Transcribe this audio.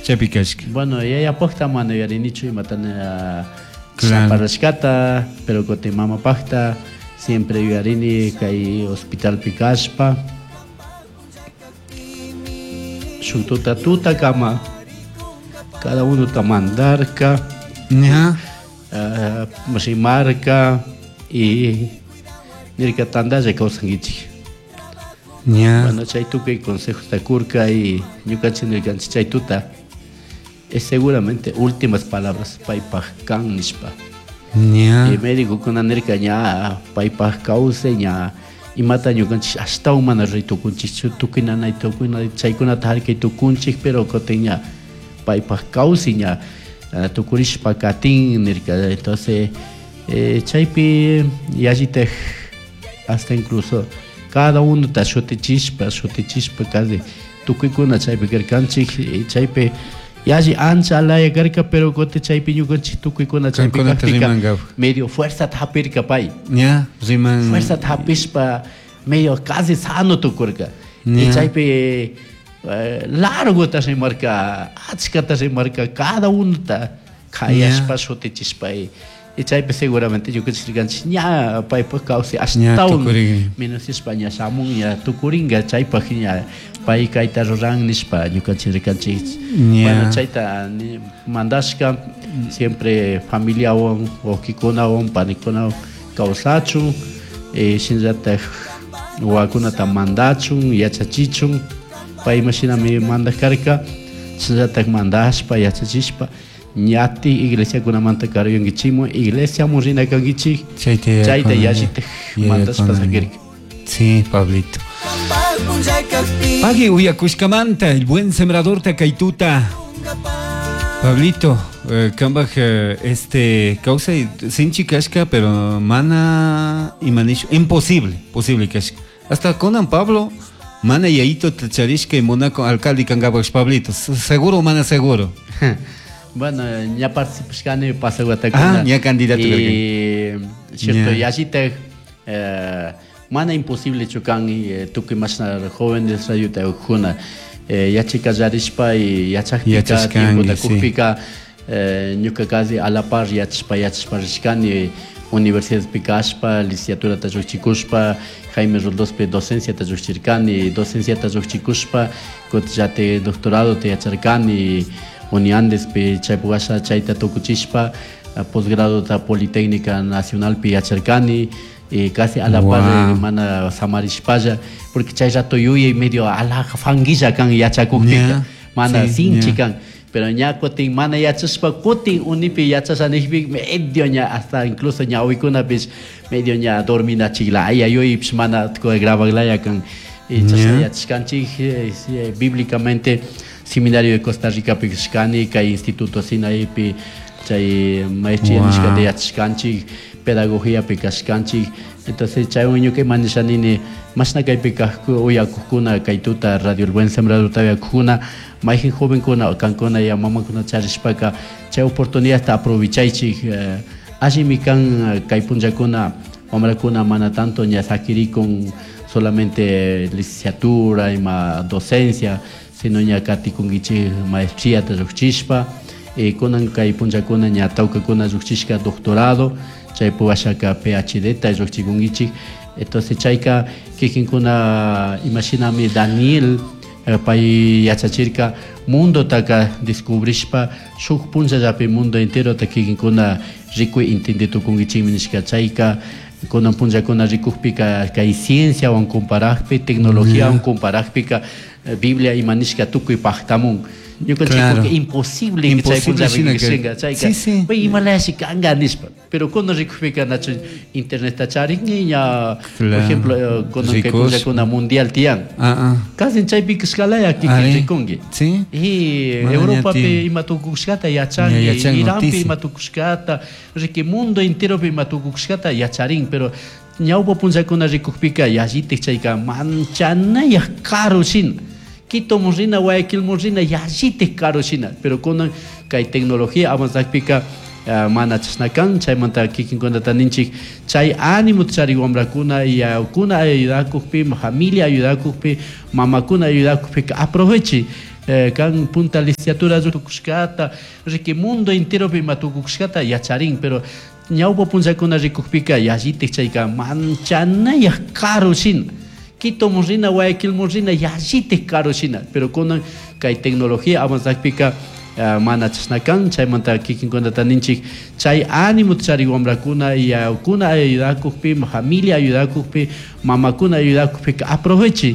Chaypi kashka. Bueno, yayapajta mana yuyarinichu imata Claro. parlashkata, pero kutin mamapajta siempre yuyarini kay hospitalpi kashpa. Shuk tuta tutakama cada unota mandarka, Ña. Rimarka y nirka tandalla kawsankichik. Ña. Bueno, chay tukuy consejosta kurka y ñukanchik nirkanchik chay tuta es seguramente últimas palabras paypaj kan nishpa. Ña. Y médicokuna nirka ña paypaj kawsay ña imata ñukanchik ashtawan mana ruray tukunchikchu tukuy nanay tukuy chaykunata harkay tukunchik, pero kutin ña paypaj kawsay ña tukurishpa katin nirka. Entonces chaypi yallitaj hasta incluso cada unota shutichispa, shutichispa casi tukuykuna chaypi karkanchik, y chaypi yalli ancha alaya karka, pero kutin chaypi ñukanchik tukuykuna chaypi Kankunata kakpika rimankapuk. medio fuerzata hapirka pay. Ña, riman. Fuerzata hapishpa medio casi sano tukurka. Y Ña. chaypi largota rimarka, achkata rimarka, cada unota kayashpa Ña. shutichispa. Y chaypi seguramente ñukanchik rikanchik ña paypaj kawsay Ña ashtawan tukurin. menosishpa ña shamun ña tukuringa chaypaj ña pay kayta ruran nishpa ñukanchik rikanchik. Ña. Bueno, chayta ni mandashka siempre familiawan, wawkikunawan, panikunawan kawsachun, shinallataj wawakunata mandachun, yachachichun, pay imashinami mandak karka, shinallataj mandashpa, yachachishpa, ñati iglesiakunamanta karuyankichikmun, iglesiamun rina kankichik, Chayta chayta yuyakuna, yallitaj mandashpa yuyakuna. sakirka. Sí, Pablito. Pagui uyakushkamanta, el buen sembrador takaituta. Pablito, kambaj, este kawsay sinchi kashka, pero mana imanishu, imposible, posible kashka. Hasta conan Pablo, mana yayito tacharishka y Monaco alcalde kangabash Pablito, seguro mana seguro. Bueno, ña participashkani pasawatakuna. Ah, ña candidato Y, cierto, Ña. yallitaj, mana imposible chukan, tukuy mashna jóvenes radiota ukuna. Yachay kallarishpa y yachakpika, Yachashkanki, tiempota sí. kukpika, ñuka casi a la par yachashpa, yachashpa rishkani, universidadpi kashpa, licenciaturata lluqchikushpa, Jaime Roldospi docenciata lluqchirkani, docenciata lluqchikushpa, kutin doctorado te yacharkani, Uniandespi chaypi washa chayta tukuchishpa, posgradota Politécnica Nacionalpi yacharkani, y casi a la par, Guau. mana samarishpalla, porque chay rato yuyay medio alaja fanguilla kan yachakukpika, Ña, mana sí, sinchi ña. kan, pero ña kutin mana yachashpa kutin unipi yachashanijpi medio ña hasta incluso ñawikunapish medio ña dorminachilaya yuyaypish mana grabaglaya kan. Y chashna Ña. yachashkanchik, sí, bíblicamente seminario de Costa Rica pi kashkani, kay instituto Sinaipi chay maestría Guau. nishkata yachashkanchik, pedagogía pi kashkanchik. Entonces chaywan ñuka ima nishanini, mashna kaypi kajku uyakujkuna kay tuta Radio El Buen Sembrador uyakujkuna, mayjin jovenkuna kankuna ya mamakuna charishpaka chay oportunidadta aprovechaychik, allimi kan kay punllakuna wamrakuna mana tanto ña sakirikun solamente licenciatura ima docencia, sino ña katikunkichik maestría ta lluqchishpa, kunan kay punllakuna ña tawkakuna lluqchishka doctorado, chaypi washaka PhD ta lluqchikunkichik. Entonces chayka kikinkuna imashinami Daniel, pay yachachirka mundotaka descubrishpa shuk punllallapi mundo enterota kikinkuna rikuy entende tukunkichikmi nishka. Chayka kunan punllakuna rikukpika kay cienciawan comparajpi, tecnologiawan comparajpika, Biblia ima nishka tukuy pajtamun. Ñukanchik Claro. porque imposible que Imposible chay punlla shina rikukpi que- shinga, chayka, Sí, sí. pay imalashi kanga nishpa. Pero cuando rikukpika nachu internet ta charingi ña, por Claro. ejemplo, kunan kay Ricos. punllakuna mundial tiyan. Ah, ah. Casi chaypi kashkalaya kikin Ari. rikunki. Sí. Y Mana Europapi ña tiyan. ima tukushkata yachanki, Ña yachan Iranpi noticia. ima tukushkata, riki mundo enteropi ima tukushkata yacharin, pero ñawpa punllakuna rikukpika yallitik chayka manchanayaj karu shina. Quito mun rina, Guayaquil mun rina, yallitik karu shina. Pero kunan kay tecnología avanzakpika Mana chashna kan. Chaymanta kikinkunata ninchik chay ánimo charik wambrakuna, yayakuna ayudakukpi, familia ayudakukpi, mamakuna ayudakukpika aproveche. Kan punta licenciatura tukushkata riki, mundo enteropi ima tukushkata yacharin. Pero ñawpa punllakuna rikukpika yallitik chayka manchanayak karu shina, Quitomun rina, Guayaquilmun rina yallitik karu shina. Pero kunan kay tecnología avanzakpika mana chashna kan. Chaymanta kikinkunata ninchik chay ánimo charik wambrakuna, yayakuna ayudakukpi, familia ayudakukpi, mamakuna ayudakukpika aproveche.